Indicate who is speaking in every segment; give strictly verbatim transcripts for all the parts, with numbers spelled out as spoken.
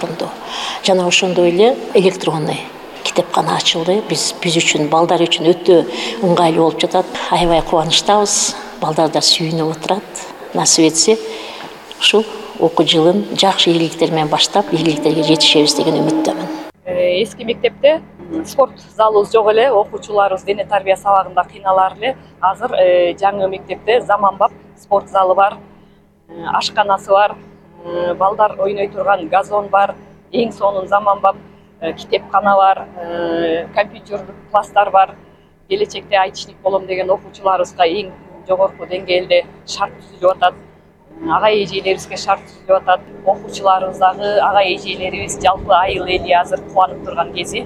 Speaker 1: орунду. Жана ошондой эле электронный китепкана ачылды. Биз биз үчүн, балдар үчүн өтө ыңгайлуу болуп жатат. Аябай кубанычтабыз. Балдар да сүйүнүп отурат. Насип этсе, ушул окуу жылын жакшы ийгиликтер менен баштап, ийгиликтерге жетишебиз деген үмүттөмүн.
Speaker 2: Эски мектепте спорт залыбыз жок эле, окуучуларыбыз дене тарбия сабагында кыйналар эле. Азыр жаңы мектепте заманбап спорт залы бар, ашканасы бар, балдар ойной турган газон бар, эң сонун заманбап китепкана бар, компьютерлик класстар бар. Келечекте айтишник болом деген окуучуларыбызга эң жогорку деңгээлде шарт түзүлүп атат. Ага эжелерибизге шарт түзүлүп атат. Окуучуларыбыз дагы, ага эжелерибиз, жалпы айыл эли азыр кубанып турган кези.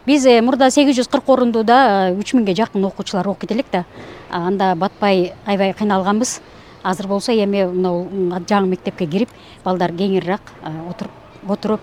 Speaker 3: Биз мурда сегиз жүз кырк орундууда үч миңге жакын окуучулар окуйт элек да. Анда батпай аябай кыйналганбыз. Азыр болсо эми мынау жаңы мектепке кирип, балдар кеңириак отуруп, отуруп,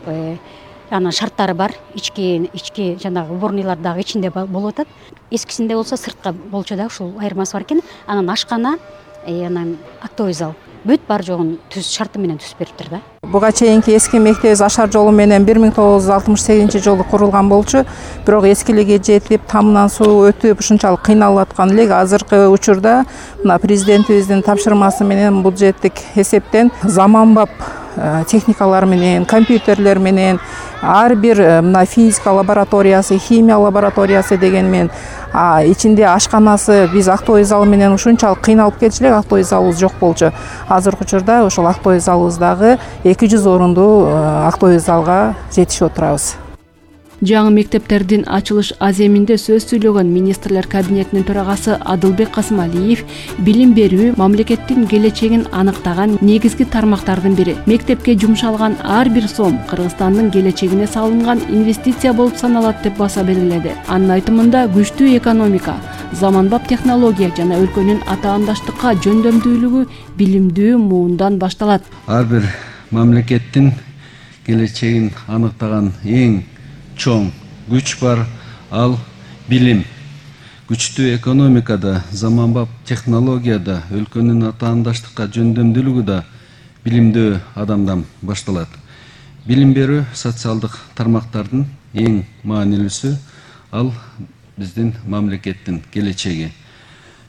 Speaker 3: анан шарттары бар. Ички, ички жанагы уборныйлар дагы ичинде болуп атат. Эскисинде болсо сыртка болчу да, ушул айырмасы бар экен. Анан ашкана, анан актовый зал. Бүт бар жогун түз шарты менен түзүп бериптир да.
Speaker 4: Буга чейинки эски мектебибиз Ашар жолу менен бир миң тогуз жүз алтымыш сегизинчи жылы курулган болчу. Бирок эскилиги жетип, тамынан суу өтүп, ушунчалык кыйналып аткан элек. Азыркы учурда мына президентибиздин тапшырмасы менен бюджеттик эсептен заманбап техникалар менен, компьютерлер менен, ар бир мына физика лабораториясы, химия лабораториясы деген менен ичинде ашканасы, биз актовый зал менен ушунчалык кыйналып келчү элек, актовый залыбыз жок болчу. Азыркы учурда ошол актовый залыбыздагы эки жүз орунду актовый залга жетишип отурабыз.
Speaker 5: Жаңы мектептердин ачылыш аземинде сөз сүйлөгөн министрлер кабинетинин төрагасы Адылбек Касымалиев билим берүү мамлекеттин келечегин аныктаган негизги тармактардын бири. Мектепке жумшалган ар бир сом Кыргызстандын келечегине салынган инвестиция болуп саналат деп баса белгиледи. Анын айтымында күчтүү экономика, заманбап технология жана өлкөнүн атаандаштыкка жөндөмдүүлүгү билимдүү муундан башталат.
Speaker 6: Ар бир мамлекеттин келечегин аныктаган эң чоң күч бар, ал билим. Күчтүү экономикада, заманбап технологияда, өлкөнүн атаандаштыкка жөндөмдүүлүгү да билимдүү адамдан башталат. Билим берүү социалдык тармактардын эң маанилүүсү, ал биздин мамлекеттин келечеги.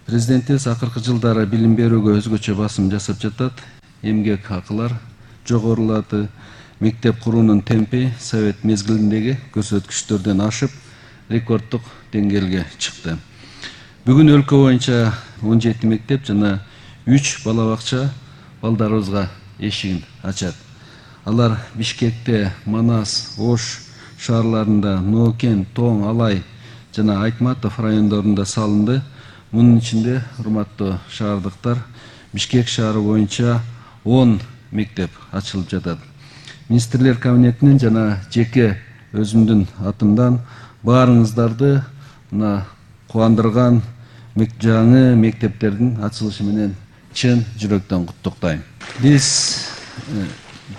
Speaker 6: Президентибиз акыркы жылдары билим берүүгө өзгөчө басым жасап жатат. Эмгек акылар жогорулады. Мектеп куруунун темпи совет мезгилиндеги көрсөткүчтөрдөн ашып, рекорддук деңгээлге чыкты. Бүгүн өлкө боюнча он жети мектеп жана үч бала бакча балдарыбызга эшигин ачат. Алар Бишкекте, Манас, Ош шаарларында, Ноокен, Тоң, Алай жана Айтматов райондорунда салынды. Мунун ичинде, урматтуу шаардыктар, Бишкек шаары боюнча он мектеп ачылып жатат. Министрлер кабинетинин жана жеке өзүмдүн атымдан баарыңыздарды мына кубандырган жаңы мектептердин ачылышы менен чын жүрөктөн куттуктайм. Биз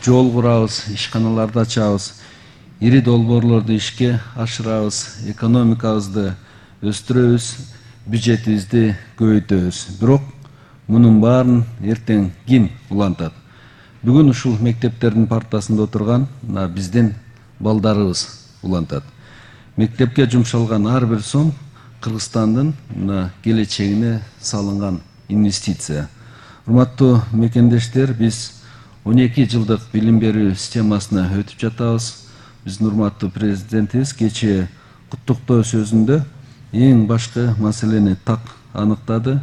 Speaker 6: жол курабыз, ишканаларды ачабыз, ири долбоорлорду ишке ашырабыз, экономикабызды өстүрөбүз, бюджетибизди көбөйтөбүз. Бирок мунун баарын эртең ким улантат? Бүгүн ушул мектептердин партасында отурган биздин балдарыбыз улантат. Мектепке жумшалган ар бир сом Кыргызстандын келечегине салынган инвестиция. Урматтуу мекендештер, биз он эки жылдык билим берүү системасына өтүп жатабыз. Биздин урматтуу президентибиз кечээ куттуктоо сөзүндө эң башкы маселени так аныктады.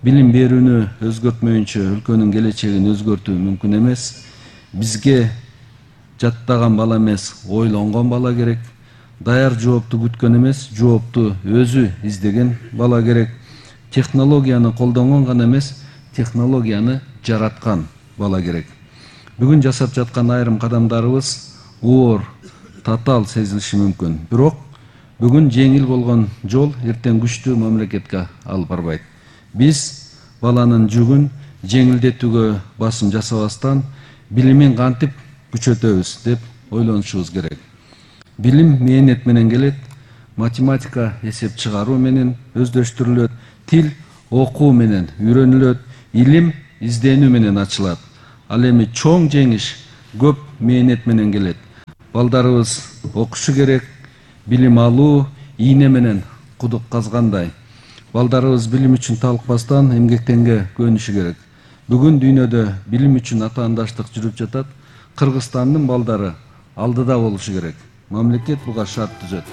Speaker 6: Билим берүүнү өзгөртмөйүнчө өлкөнүн келечегин өзгөртүү мүмкүн эмес. Бизге жаттаган бала эмес, ойлонгон бала керек. Даяр жоопту күткөн эмес, жоопту өзү издеген бала керек. Технологияны колдонгон гана эмес, технологияны жараткан бала керек. Бүгүн жасап жаткан айрым кадамдарыбыз оор, татаал сезилиши мүмкүн. Бирок бүгүн жеңил болгон жол эртең күчтүү мамлекетке алып барбайт. Биз баланын жүгүн жеңилдетүүгө басым жасабастан билимин кантип күчөтөбүз деп ойлонушубуз керек. Билим мээнет менен келет, математика эсеп чыгаруу менен өздөштүрүлөт, тил окуу менен үйрөнүлөт, илим изденүү менен ачылат. Ал эми чоң жеңиш көп мээнет менен келет. балдарыбыз окушу керек, билим алуу ийне менен кудук казгандай. Балдарыбыз билим үчүн талыкпастан эмгектенге көнүшү керек. Бүгүн дүйнөдө билим үчүн атаандаштык жүрүп жатат. Кыргызстандын балдары алдыда болушу керек. Мамлекет буга шарт түзөт.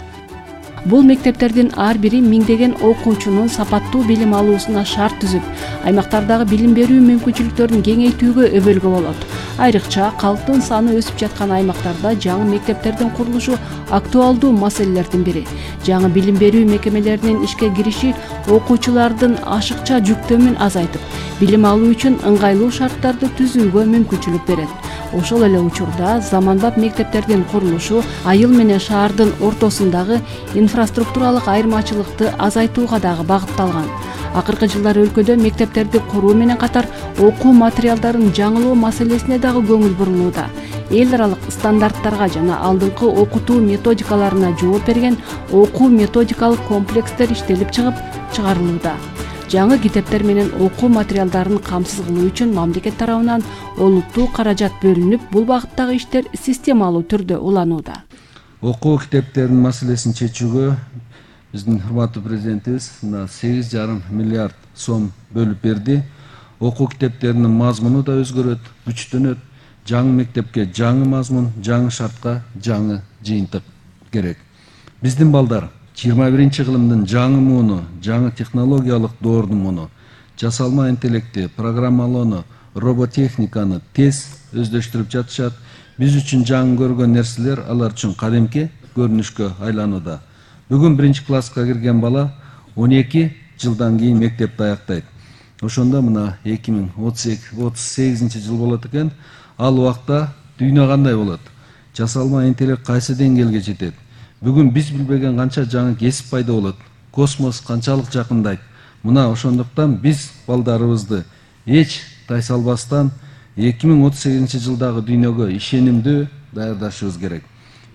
Speaker 5: Бул мектептердин ар бири миңдеген окуучунун сапаттуу билим алуусуна шарт түзүп, аймактардагы билим берүү мүмкүнчүлүктөрүн кеңейтүүгө өбөлгө болот. Айрыкча калктын саны өсүп жаткан аймактарда жаңы мектептердин курулушу актуалдуу маселелердин бири. Жаңы билим берүү мекемелеринин ишке кириши окуучулардын ашыкча жүктөмүн азайтып, билим алуу үчүн ыңгайлуу шарттарды түзүүгө мүмкүнчүлүк берет. Ошол эле учурда заманбап мектептердин курулушу айыл менен шаардын ортосундагы инфраструктуралык айырмачылыкты азайтууга дагы багытталган. Акыркы жылдары өлкөдө мектептерди куруу менен катар окуу материалдарын жаңылоо маселесине дагы көңүл бурулууда. Эл аралык стандарттарга жана алдыңкы окутуу методикаларына жооп берген окуу методикалык комплекстер иштелип чыгып чыгарылууда. Жаңы китептер менен окуу материалдарын камсыз кылуу үчүн мамлекет тарабынан олуттуу каражат бөлүнүп, бул багыттагы иштер системалуу түрдө уланууда.
Speaker 6: Окуу китептеринин маселесин чечүүгө биздин урматтуу президентибиз мына сегиз жарым миллиард сом бөлүп берди. Окуу китептеринин мазмуну да өзгөрөт, күчтөнөт. Жаңы мектепке жаңы мазмун, жаңы шартка жаңы жыйынтык керек. Биздин балдар жыйырма биринчи кылымдын жаңы мууну, жаңы технологиялык доордун муну, жасалма интеллекти, программалоону, роботехниканы тез өздөштүрүп жатышат. Биз үчүн жаңы көргөн нерселер алар үчүн кадимки көрүнүшкө айланууда. Бүгүн биринчи класска кирген бала он эки жылдан кийин мектепти аяктайт. Ошондо мына эки миң отуз сегизинчи жыл болот экен. Ал убакта дүйнө кандай болот? Жасалма интеллект кайсы деңгээлге жетет? Бүгүн биз билбеген канча жаңы кесип пайда болот? Космос канчалык жакындайт? Мына ошондуктан биз балдарыбызды эч тайсалбастан эки миң отуз сегизинчи жылдагы дүйнөгө ишенимдүү даярдашыбыз керек.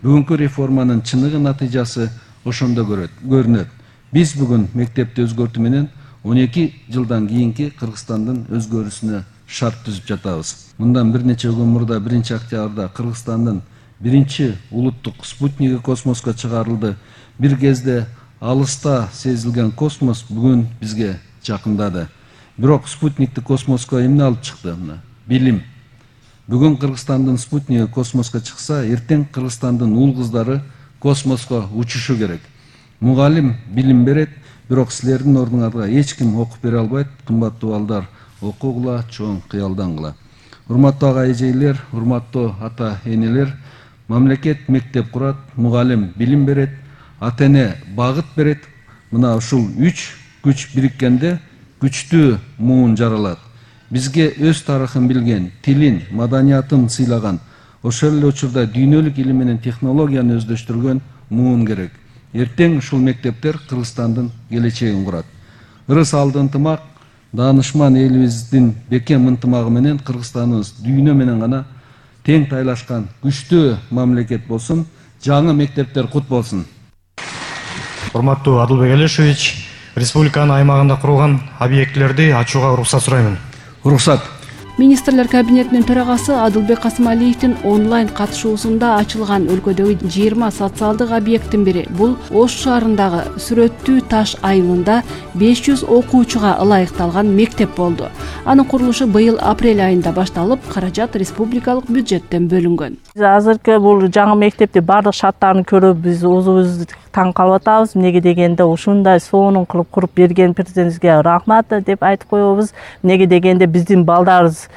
Speaker 6: Бүгүнкү реформанын чыныгы натыйжасы ошондо көрүнөт. Биз бүгүн мектепти өзгөртүү менен он эки жылдан кийинки Кыргызстандын өзгөрүүсүнө шарт түзүп жатабыз. Мындан бир нече күн мурда биринчи октябрда Кыргызстандын биринчи улуттук спутниги космоско чыгарылды. Бир кезде алыста сезилген космос бүгүн бизге жакындады. Бирок спутникти космоско эмне алып чыкты? Билим. Бүгүн Кыргызстандын спутниги космоско чыкса, эртең Кыргызстандын уул кыздары космоско учушу керек. Мугалим билим берет, бирок силердин ордуңарга эч ким окуп бере албайт. Кымбаттуу балдар, окугула, чоң кыялдангыла. Урматтуу ага эжейлер, урматтуу ата энелер, мамлекет мектеп курат, мугалим билим берет, ата эне багыт берет. Мына ушул үч күч бириккенде күчтүү муун жаралат. Бизге өз тарыхын билген, тилин, маданиятын сыйлаган, ошол эле учурда дүйнөлүк илим менен технологияны өздөштүргөн муун керек. Эртең ушул мектептер Кыргызстандын келечегин курат. Ырыс алды ынтымак, даанышман элибиздин бекем ынтымагы менен Кыргызстаныбыз дүйнө менен гана тең тайлашкан күчтүү мамлекет болсун, жаңы мектептер кут болсун.
Speaker 7: Урматтуу Адылбек Алишевич, республиканын аймагында курулган объектилерди ачууга уруксат сураймын.
Speaker 6: Уруксат.
Speaker 5: Министрлер кабинетинин төрагасы Адылбек Касымалиевдин онлайн катышуусунда ачылган өлкөдөгү жыйырма социалдык объекттин бири бул Ош шаарындагы Сүрөттүү Таш айылында беш жүз окуучуга ылайыкталган мектеп болду. Анын курулушу быйыл апрель айында башталып, каражат республикалык бюджеттен бөлүнгөн.
Speaker 8: Азыркы бул жаңы мектепти бардык шарттарын көрүп, биз өзүбүз таң калып атабыз. Эмнеге дегенде ушундай сонун кылып куруп берген президентибизге рахмат деп айтып коебуз. Эмнеге дегенде биздин балдарыбыз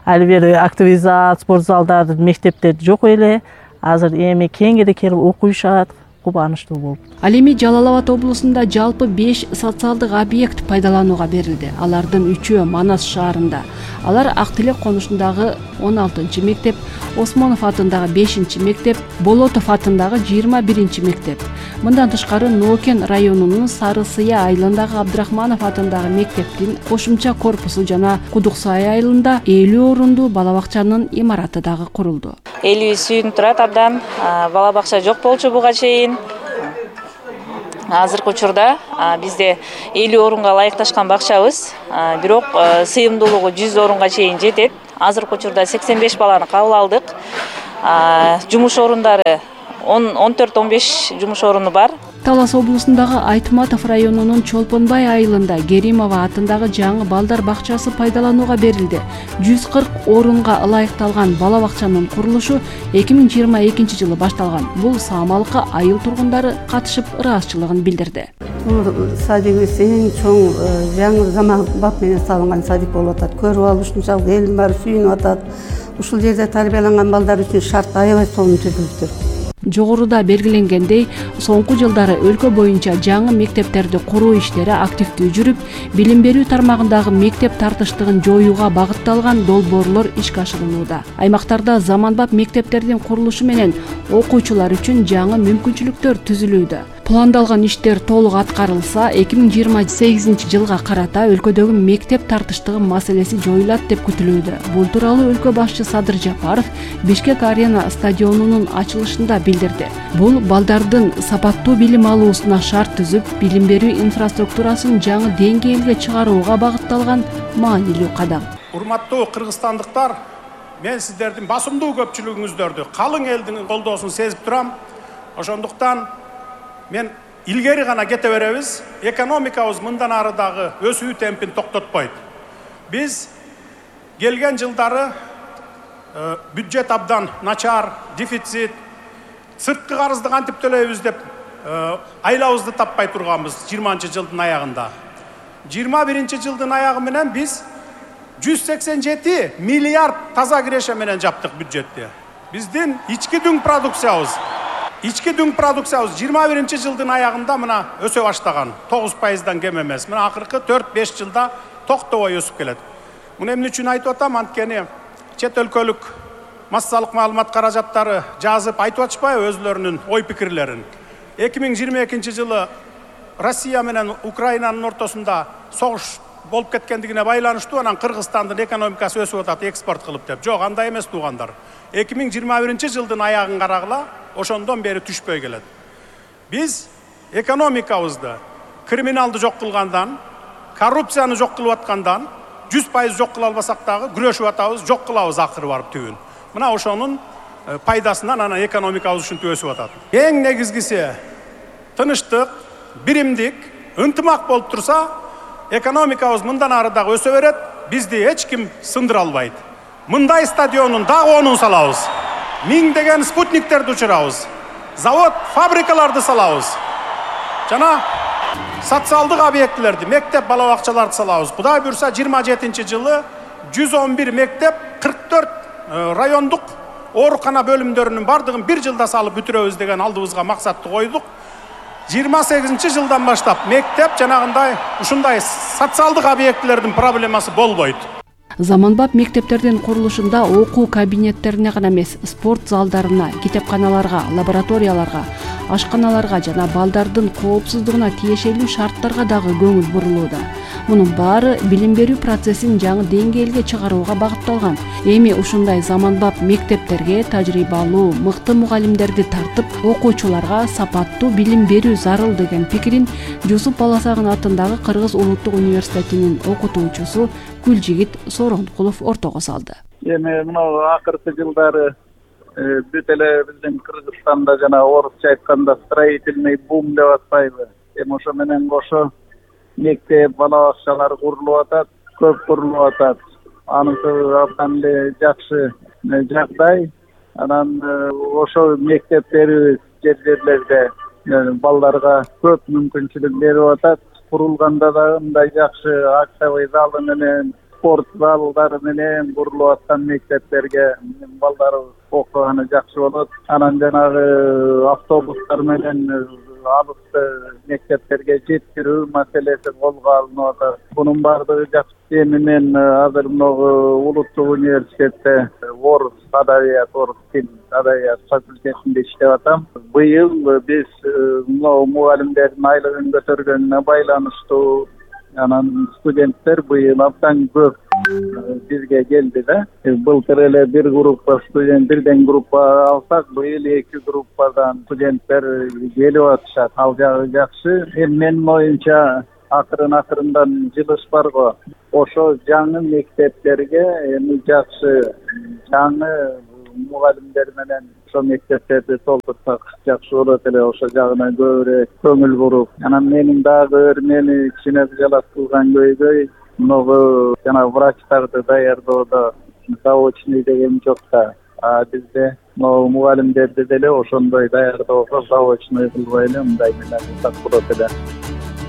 Speaker 8: али бери активизат, спорт залдары, мектептер жок эле. Азыр эми кеңири келип окуйшат. Кубанычтуу болуп.
Speaker 5: Ал эми Жалал Абад облусунда жалпы беш социалдык объект пайдаланууга берилди. Алардын үчөө Манас шаарында. Алар Ак Тилек конушундагы он алтынчы мектеп, Осмонов атындагы бешинчи мектеп, Болотов атындагы жыйырма биринчи мектеп. Мындан тышкары Нокен районунун Сары Сыя айылындагы Абдрахманов атындагы мектептин кошумча корпусу жана Кудук Сай айылында элүү орундуу бала бакчанын имараты дагы курулду.
Speaker 9: Элүү сүйүнүп турат абдан. Бала бакча жок болчу буга чейин. Азыркы учурда бизде элүү орунга ылайыкташкан бакчабыз, бирок сыйымдуулугу жүз орунга чейин жетет. Азыркы учурда сексен беш баланы кабыл алдык. Жумуш орундары он төрт он беш жумуш оруну бар.
Speaker 5: Талас облусундагы Айтматов районунун Чолпонбай айылында Керимова атындагы жаңы балдар бакчасы пайдаланууга берилди. жүз кырк орунга ылайыкталган бала бакчанын курулушу эки миң жыйырма экинчи жылы башталган. Бул саамалыкка айыл тургундары катышып ыраазычылыгын билдирди.
Speaker 10: Бул садигибиз эң чоң жаңы заманбап менен салынган садик болуп атат. Көрүп алып ушунчалык элдин баары сүйүнүп атат. Ушул жерде тарбияланган балдар үчүн шарт аябай сонун түзүлүптүр.
Speaker 5: Жогоруда белгиленгендей, соңку жылдары өлкө боюнча жаңы мектептерди куруу иштери активдүү жүрүп, билим берүү тармагындагы мектеп тартыштыгын жоюуга багытталган долбоорлор ишке ашырылууда. Аймактарда заманбап мектептердин курулушу менен окуучулар үчүн жаңы мүмкүнчүлүктөр түзүлүүдө. Пландалган иштер толук аткарылса, эки миң жыйырма сегизинчи жылга карата өлкөдөгү мектеп тартыштыгы маселеси жоюлат деп күтүлүүдө. Бул тууралуу өлкө башчы Садыр Жапаров Бишкек Арена стадионунун ачылышында билдирди. Бул балдардын сапаттуу билим алуусуна шарт түзүп, билим берүү инфраструктурасын жаңы деңгээлге чыгарууга багытталган маанилүү кадам.
Speaker 11: Урматтуу кыргызстандыктар, мен сиздердин басымдуу көпчүлүгүңүздөрдү, калың элдин колдоосун сезип турам. Ошондуктан мен илгери гана кете беребиз. Экономикабыз мындан ары дагы өсүү темпин токтотпойт. Биз келген жылдары бюджет абдан начар, дефицит, сырткы карызды кантип төлөйбүз деп айлабызды таппай турганбыз жыйырманчы жылдын аягында. жыйырма биринчи жылдын аягы менен биз жүз сексен жети миллиард таза киреше менен жаптык бюджетти. Биздин ички дүң продукциябыз Ички дүң продукциябыз жыйырма биринчи жылдын аягында мына өсө баштаган. тогуз пайыздан кем эмес. Мына акыркы төрт беш жылда токтобой өсүп келет. Муну эмне үчүн айтып атам? Анткени чет өлкөлүк массалык маалымат каражаттары жазып айтып атышпайбы өзлөрүнүн ой пикирлерин. эки миң жыйырма экинчи жылы Россия менен Украинанын ортосунда согуш болуп кеткендигине байланыштуу анан Кыргызстандын экономикасы өсүп атат экспорт кылып деп. Жок, андай эмес туугандар. эки миң жыйырма биринчи жылдын аягын карагыла, ошондон бери түшпөй келет. Биз экономикабызды криминалды жок кылгандан, коррупцияны жок кылып аткандан жүз пайыз жок кыла албасак дагы күрөшүп атабыз, жок кылабыз акыры барып түбүн. Мына ошонун пайдасынан анан экономикабыз ушинтип өсүп атат. Эң негизгиси тыныштык, биримдик, ынтымак болуп турса, экономикабыз мындан ары дагы өсө берет, бизди эч ким сындыра албайт. Мындай стадионун дагы онун салабыз. Миңдеген спутниктерди учурабыз. Завод, фабрикаларды салабыз. Жана социалдык объектилерди, мектеп, бала бакчаларды салабыз. Кудай буйрса жыйырма жетинчи жылы жүз он бир мектеп, кырк төрт райондук оорукана бөлүмдөрүнүн бардыгын бир жылда салып бүтүрөбүз деген алдыбызга максатты койдук. жыйырма сегизинчи жылдан баштап мектеп жанагындай ушундай социалдык объектилердин проблемасы болбойт.
Speaker 5: Заманбап мектептердин курулушунда окуу кабинеттерине гана эмес, спорт залдарына, китепканаларга, лабораторияларга, ашканаларга жана балдардын коопсуздугуна тиешелүү шарттарга дагы көңүл бурулууда. Мунун баары билим берүү процессин жаңы деңгээлге чыгарууга багытталган. Эми ушундай заманбап мектептерге тажрыйбалуу, мыкты мугалимдерди тартып, окуучуларга сапаттуу билим берүү зарыл деген пикирин Жусуп Баласагын атындагы Кыргыз Улуттук университетинин окутуучусу Гүлжигит Соронкулов ортого салды.
Speaker 12: Эми мына акыркы жылдары бүт эле биздин Кыргызстанда жана орусча айтканда строительный бум деп атпайбы. Эми ошо менен кошо мектеп, бала бакчалар курулуп атат, көп курулуп атат. Анысы абдан эле жакшы жагдай. Анан ошо мектептерибиз жер-жерлерде балдарга көп мүмкүнчүлүк берип атат. Курулганда да мындай жакшы актовый залы менен, спорт залдары менен курулуп аткан мектептерге балдар окуганы жакшы болот. Анан жанагы автобустар менен алыскы мектептерге жеткирүү маселеси колго алынып атат. Бунун баардыгы жакшы. Эми мен азыр могу Улуттук университетте орус адабият, орус тил адабият факультетинде иштеп атам. Быйыл биз могу мугалимдердин айлыгын көтөргөнүнө байланыштуу анан студенттер быйыл абдан көп бизге келди да. Былтыр эле бир группа студент, бирден группа алсак, быйыл эки группадан студенттер келип атышат. Ал жагы жакшы. Эми менин оюмча акырын акырындан жылыш бар го. Ошо жаңы мектептерге эми жакшы жаңы мугалимдер менен ошо мектептерди толтурсак жакшы болот эле. Ошо жагына көбүрөөк көңүл буруп, анан менин дагы бир мени кичине жалап кылган көйгөй могу жана врачтарды даярдоодо заочный деген жок да. А бизде могу мугалимдерди деле ошондой даярдоого заочный кылбай эле мындай менен кылсак болот эле.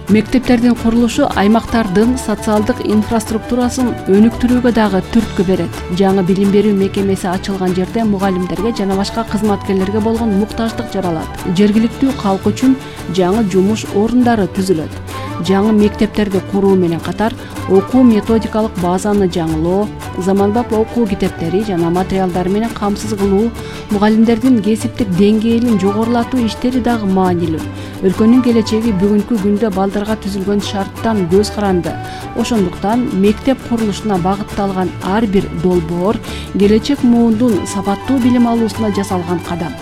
Speaker 5: Мектептердин курулушу аймактардын социалдык инфраструктурасын өнүктүрүүгө дагы түрткү берет. Жаңы билим берүү мекемеси ачылган жерде мугалимдерге жана башка кызматкерлерге болгон муктаждык жаралат. Жергиликтүү калк үчүн жаңы жумуш орундары түзүлөт. Жаңы мектептерди куруу менен катар окуу методикалык базаны жаңылоо, заманбап окуу китептери жана материалдар менен камсыз кылуу, мугалимдердин кесиптик деңгээлин жогорулатуу иштери дагы маанилүү. Өлкөнүн келечеги бүгүнкү күндө балдарга түзүлгөн шарттан көз каранды. Ошондуктан мектеп курулушуна багытталган ар бир долбоор келечек муундун сапаттуу билим алуусуна жасалган кадам.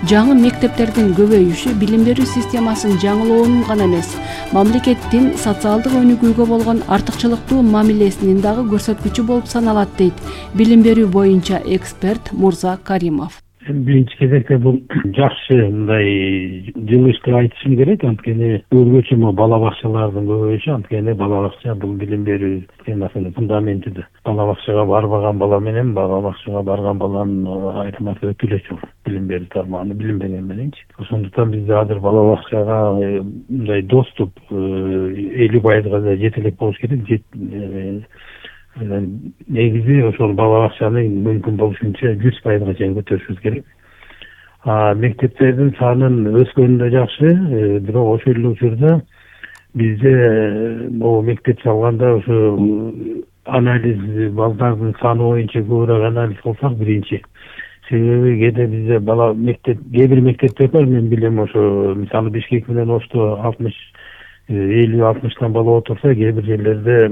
Speaker 5: Жаңы мектептердин көбөйүшү билим берүү системасын жаңылоонун гана эмес, мамлекеттин социалдык өнүгүүгө болгон артыкчылыктуу мамилесинин дагы көрсөткүчү болуп саналат дейт билим берүү боюнча эксперт Мурза Каримов.
Speaker 13: Биринчи кезекте бул жакшы мындай жылыш деп айтышым керек. Анткени өзгөчө могу бала бакчалардын көбөйүшү, анткени бала бакча бул билим берүү системасынын фундаментиdir. Бала бакчага барбаган бала менен бала бакчага барган баланын айырмасы өтө эле чоң. Билим берүү тармагында билим берген мененчи. Ошондуктан бизде азыр бала бакчага мындай доступ элүү пайызга да жете элек болуш керек. Негизи ошол бала бакчаны мүмкүн болушунча жүз пайызга чейин көтөрүшүбүз керек. А мектептердин санын өскөнү да жакшы, бирок ошол эле учурда бизде могу мектеп салганда ошо анализ балдардын саны боюнча көбүрөөк анализ кылсак биринчи. Себеби кээде бизде бала мектеп, кээ бир мектептер бар, мен билем ошо мисалы Бишкек менен Ошто алтымыш элүү алтымыштан бала отурса, кээ бир жерлерде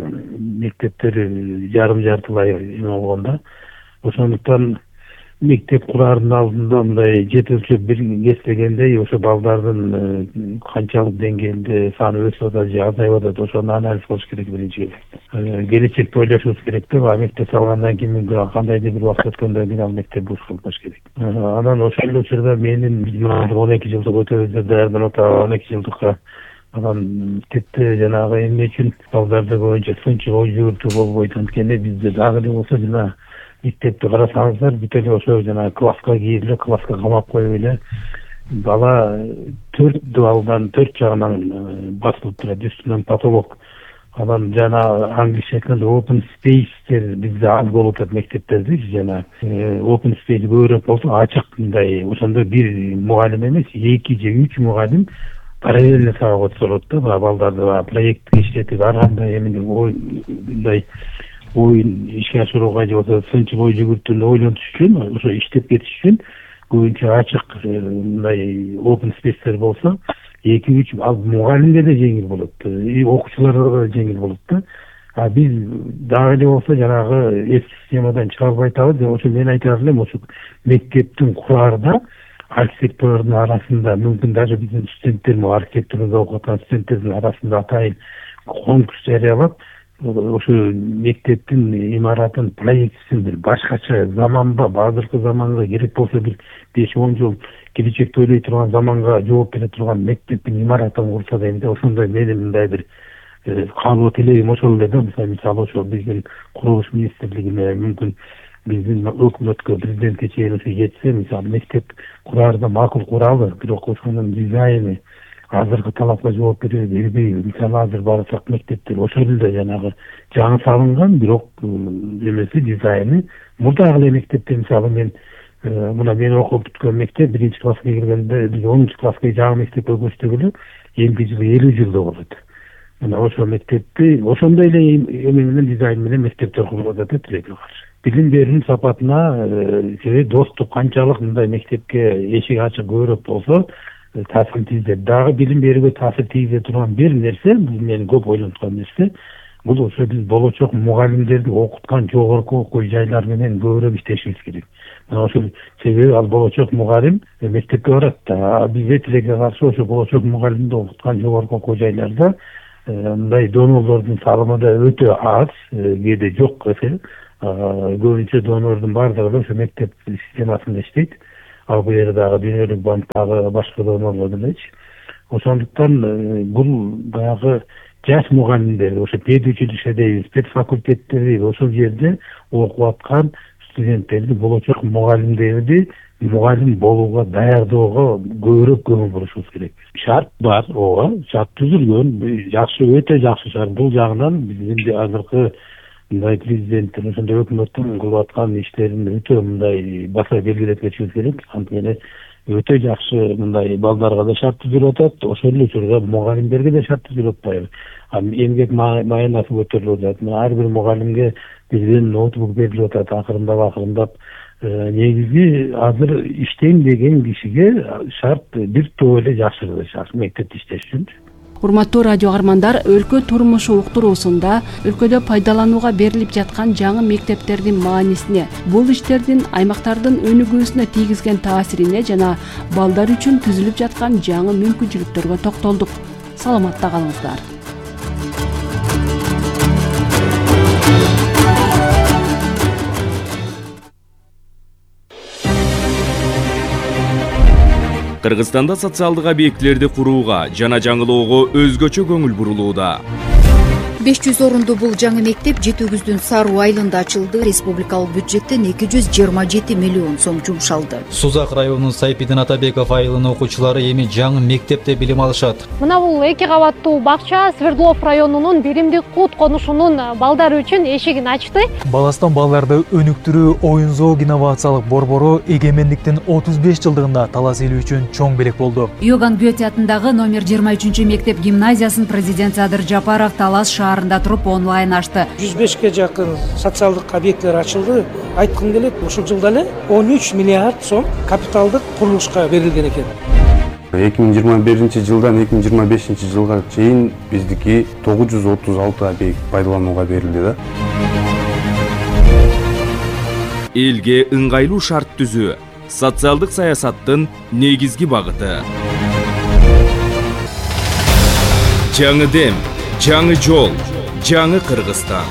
Speaker 13: мектептер жарым жартылай эме болгон да. Ошондуктан мектеп курардын алдында мындай жет өлчөп бир кеспегендей ошо балдардын канчалык деңгээлде саны өсүп атат же азайып атат, ошону анализ кылыш керек биринчи. Келечекти ойлошубуз керек да, мектеп салгандан кийин кандайдыр бир убакыт өткөндөн кийин ал мектеп буш кылмаш керек. Анан ошол эле учурда менин он эки жылдык өтөбүздө даярданып атабыз, он эки жылдыкка анан мектепте жанагы эмне үчүн балдарды боюнча сынчы ой жүгүртүү болбойт. Анткени бизде дагы эле болсо жана мектепти карасаңыздар бүт эле ошо жана класска кирип эле класска камап коюп эле бала төрт балдан төрт жагынан басылып турат, үстүнөн потолок. Анан жана англисче айтканда open space'тер бизде аз болуп атат мектептерде, жана open space көбүрөөк болсо ачык мындай ошондо бир мугалим эмес эки же үч мугалим параллельно сабак өткөрөт да, балдарды проектти иштетип ар кандай эмне мындай оюн ишке ашырууга же болбосо сынчыл ой жүгүртүүнү ойлонуш үчүн, ошо иштеп кетиш үчүн көбүнчө ачык мындай open space'тер болсо эки үч ал мугалимге да жеңил болот, окуучуларга да жеңил болот да. А биз дагы эле болсо жанагы эски системадан чыга албай атабыз. Ошо мен айтар элем, ошо мектептин кураарда архитектордун арасында мүмкүн даже биздин студенттер, архитектурада окуп аткан студенттердин арасында атайын конкурс жарыялап, ошо мектептин имаратын проектисин бир башкача заманбап, азыркы заманга керек болсо бир беш он жыл келечекти ойлой турган, заманга жооп бере турган мектептин имаратын курса дейм да. Ошондой менин мындай бир каалоо тилегим ошол эле да. Мисалы ошо биздин курулуш министрлигине мүмкүн биздин өкмөткө, президентке чейин ошо жетсе, мисалы мектеп кураарда макул куралы, бирок ошонун дизайны азыркы талапка жооп бере бербейби. Мисалы азыр барсак мектептер ошол эле жанагы жаңы салынган, бирок эмеси дизайны мурдагы эле мектепте. Мисалы мен мына мен окуп бүткөн мектеп биринчи класска киргенде, биз онунчу класска жаңы мектепке көчтүгүлө элүү жыл элүү жылда болот. Мына ошол мектепти ошондой эле эме менен дизайн менен мектептер курулуп атат тилекке каршы. Билим берүүнүн сапатына себеби доступ канчалык мындай мектепке эшик ачык көбүрөөк болсо таасир тийгизет. Дагы билим берүүгө таасир тийгизе турган бир нерсе, бул менин көп ойлонуткан нерсе, бул ошо биз болочок мугалимдерди окуткан жогорку окуу жайлар менен көбүрөөк иштешибиз керек. Ошол себеби ал болочок мугалим мектепке барат да, бизде тилекке каршы ошо болочок мугалимди окуткан жогорку окуу жайларда мындай донорлордун салымы да өтө аз, кээде жок эсе. Көбүнчө донордун баардыгы ошо мектеп системасында иштейт. ал бул жерде дагы дүйнөлүк банк дагы башка да болот элечи. Ошондуктан бул баягы жаш мугалимдер, ошо педучилище дейбиз, педфакультеттер дейбиз, ошол жерде окуп аткан студенттерди, болочок мугалимдерди мугалим болууга даярдоого көбүрөөк көңүл бурушубуз керек. Шарт бар, ооба, шарт түзүлгөн, жакшы, өтө жакшы шарт. Бул жагынан биздин азыркы мындай президенттин, ошондой өкмөттүн кылып аткан иштерин өтө мындай баса белгилеп кетишибиз керек. Анткени өтө жакшы мындай балдарга да шарт түзүлүп атат, ошол эле учурда мугалимдерге да шарт түзүлүп атпайбы. Эмгек маянасы көтөрүлүп атат. Ар бир мугалимге бизден ноутбук берилип атат, акырындап акырындап. Негизи азыр иштенбеген кишиге шарт бир топ эле жакшы шарт мектепте иштеш үчүн.
Speaker 5: Урматтуу радио каармандар, өлкө турмушу уктуруусунда өлкөдө пайдаланууга берилип жаткан жаңы мектептердин маанисине, бул иштердин аймактардын өнүгүүсүнө тийгизген таасирине жана балдар үчүн түзүлүп жаткан жаңы мүмкүнчүлүктөргө токтолдук. Саламатта калыңыздар.
Speaker 14: Кыргызстанда социалдык объектилерди курууга жана жаңылоого өзгөчө көңүл бурулууда.
Speaker 15: беш жүз орунду бул жаңы мектеп жети өгүздүн Саруу айылында ачылды. Республикалык бюджеттен эки жүз жыйырма жети миллион сом жумшалды.
Speaker 16: Сузак районунун Сайпидин Атабеков айылынын окуучулары эми жаңы мектепте билим алышат.
Speaker 17: Мына бул эки кабаттуу бакча Свердлов районунун Биримдик Кут конушунун балдары үчүн эшигин ачты.
Speaker 18: Баластан балдарды өнүктүрүү оюн зоог инновациялык борбору эгемендиктин отуз беш жылдыгында талас эли үчүн чоң белек болду.
Speaker 19: Иоганн Гёте атындагы номер жыйырма үчүнчү мектеп гимназиясын президент Садыр Жапаров Талас шаарында туруп онлайн ачты.
Speaker 20: жүз бешке жакын социалдык объекттер ачылды. Айткым келет, ушул жылда эле он үч миллиард сом капиталдык курулушка берилген экен.
Speaker 21: эки миң жыйырма биринчи жылдан эки миң жыйырма бешинчи жылга чейин биздики тогуз жүз отуз алты объект пайдаланууга берилди да.
Speaker 14: Элге ыңгайлуу шарт түзүү социалдык саясаттын негизги багыты. Жаңы дем, жаңы жол, жаңы Кыргызстан.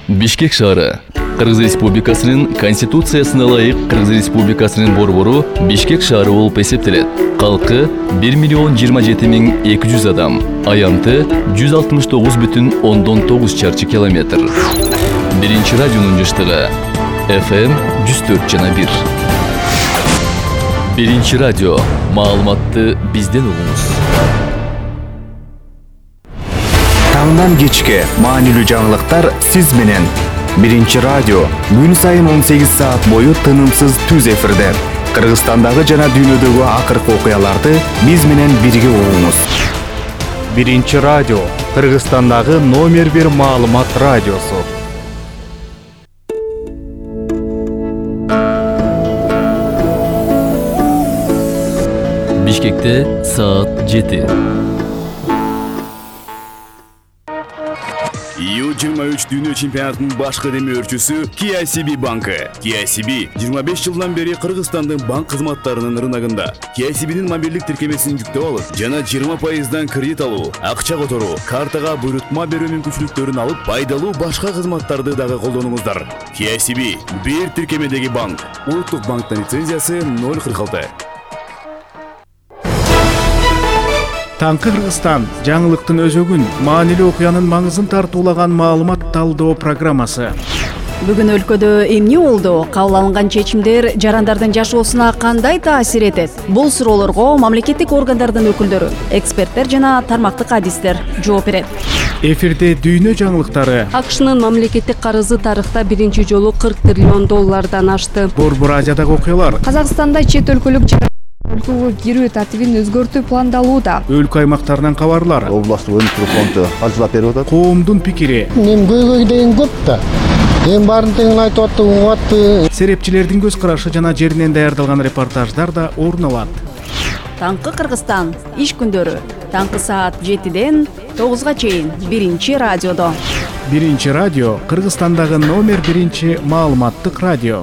Speaker 22: Бишкек шаары Кыргыз Республикасынын Конституциясына ылайык Кыргыз Республикасынын борбору Бишкек шаары болуп эсептелет. Калкы бир миллион жыйырма жети миң эки жүз адам, аянты жүз алтымыш тогуз бүтүн ондон тогуз чарчы километр. Биринчи радионун жыштыгы эф эм жүз төрт жана бир. Биринчи радио, маалыматты бизден угуңуз.
Speaker 23: Таңдан кечке маанилүү жаңылыктар сиз менен. Биринчи радио күн сайын он сегиз саат бою тынымсыз түз эфирде. Кыргызстандагы жана дүйнөдөгү акыркы окуяларды биз менен бирге угуңуз. Биринчи радио Кыргызстандагы номер бир маалымат радиосу.
Speaker 22: Бишкекте саат жети.
Speaker 24: ю жыйырма үч дүйнө чемпионатынын башкы демөөрчүсү K I C B банкы. K I C B жыйырма беш жылдан бери Кыргызстандын банк кызматтарынын рыногунда. K I C B'нин мобилдик тиркемесин жүктөп алып, жана жыйырма пайыздан кредит алуу, акча которуу, картага буйрутма берүү мүмкүнчүлүктөрүн алып, пайдалуу башка кызматтарды дагы колдонуңуздар. K I C B бир тиркемедеги банк. Улуттук банктын лицензиясы ноль кырк алты.
Speaker 11: Таңкы Кыргызстан жаңылыктын өзөгүн, маанилүү окуянын маңызын тартуулаган маалымат талдоо программасы.
Speaker 25: Бүгүн өлкөдө эмне болду? Кабыл алынган чечимдер жарандардын жашоосуна кандай таасир этет? Бул суроолорго мамлекеттик органдардын өкүлдөрү, эксперттер жана тармактык адистер жооп берет.
Speaker 11: Эфирде дүйнө жаңылыктары.
Speaker 26: АКШнын мамлекеттик карызы тарыхта биринчи жолу кырк триллион доллардан ашты.
Speaker 11: Борбор Азиядагы окуялар.
Speaker 26: Казакстанда чет өлкөлүк өлкөгө кирүү тартибин өзгөртүү пландалууда.
Speaker 11: Өлкө аймактарынан кабарлар.
Speaker 27: Областтык өнүктүрүү фонду каржылап берип атат.
Speaker 11: Коомдун пикири.
Speaker 28: Мен көйгөй деген көп да. Эң баарын тең айтып атты, угуп атты.
Speaker 11: Серепчилердин көз карашы жана жеринен даярдалган репортаждар да орун алат.
Speaker 25: Таңкы Кыргызстан иш күндөрү таңкы саат жетиден тогузга чейин биринчи радиодо.
Speaker 11: Биринчи радио Кыргызстандагы номер биринчи маалыматтык радио.